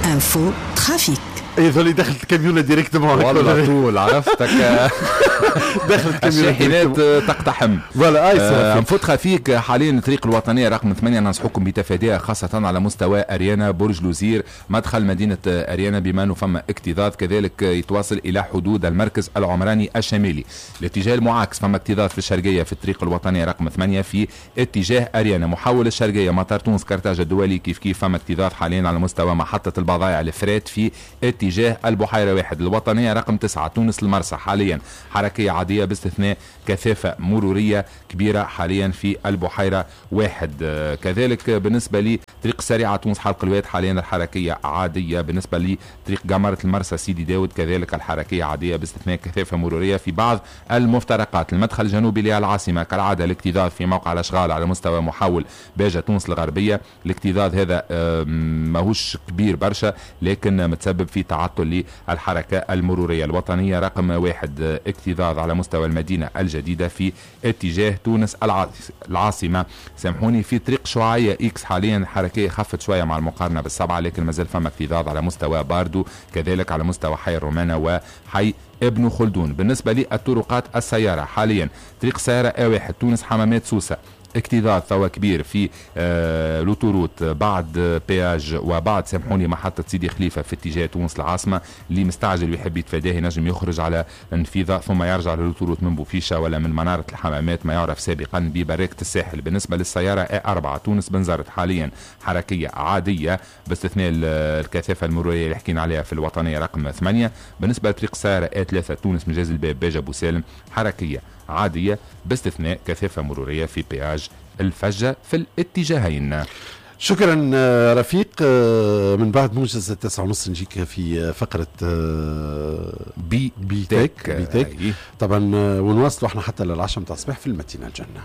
Info trafic. يظل دخلت الكاميونة directement. والله طول عرفتك. دخلت كاميونة. الشاحنات تقتحم. voilà اي. info trafic حاليا الطريق الوطنية رقم 8 ننصحكم بتفاديها، خاصة على مستوى اريانا برج لوزير مدخل مدينة اريانا، بما انه فما اكتظاظ، كذلك يتواصل الى حدود المركز العمراني الشمالي. الاتجاه المعاكس فما اكتظاظ في الشرقية في الطريق الوطنية رقم 8 في اتجاه اريانا. محول الشرقية مطار تونس كرتاج الدولي كيف كيف فما اكتظاظ حاليا على مستوى محطة البضائع ال fret في اتجاه البحيرة واحد. الوطنية رقم 9 تونس المرسى حاليا حركية عادية باستثناء كثافة مرورية كبيرة حاليا في البحيرة واحد. كذلك بالنسبة لطريق السريعة تونس حلق الواد حاليا الحركية عادية. بالنسبة لطريق قمرة المرسى سيدي داود كذلك الحركية عادية باستثناء كثافة مرورية في بعض المفترقات. المدخل الجنوبي للعاصمة كالعادة الاكتظاظ في موقع الأشغال على مستوى محول باجة تونس الغربية. الاكتظاظ هذا ماهوش كبير برشا لكن متسبب في تعطل للحركة المرورية. الوطنية رقم 1 اكتظاظ على مستوى المدينة الجديدة في اتجاه تونس العاصمة. سامحوني، في طريق شعاعية X حاليا الحركية خفت شوية مع المقارنة بالسبعة، لكن مازال فما اكتظاظ على مستوى باردو، كذلك على مستوى حي الرومانة وحي ابن خلدون. بالنسبة للطرقات السيارة حاليا طريق سيارة A1 تونس حمامات سوسة اكتظاظ توا كبير في l'autoroute بعد péage وبعد سامحوني محطة سيدي خليفة في اتجاه تونس العاصمة. اللي مستعجل ويحب يتفاداه ينجم يخرج على النفيضة ثم يرجع لل l'autoroute من بوفيشة ولا من منارة الحمامات ما يعرف سابقا ببركة الساحل. بالنسبة للسيارة A4 تونس بنزرت حاليا حركية عادية باستثناء الكثافة المرورية اللي حكينا عليها في الوطنية رقم 8. بالنسبة لطريق السيارة A3 تونس مجاز الباب باجة بوسالم حركية عادية باستثناء كثافة مرورية في péage الفجة في الاتجاهين. شكرا رفيق. من بعد موجز 9:30 نجيك في فقرة بي بي تك بي تك طبعا، ونواصلوا احنا حتى للعشرة متاع الصباح في المدينة الجنة.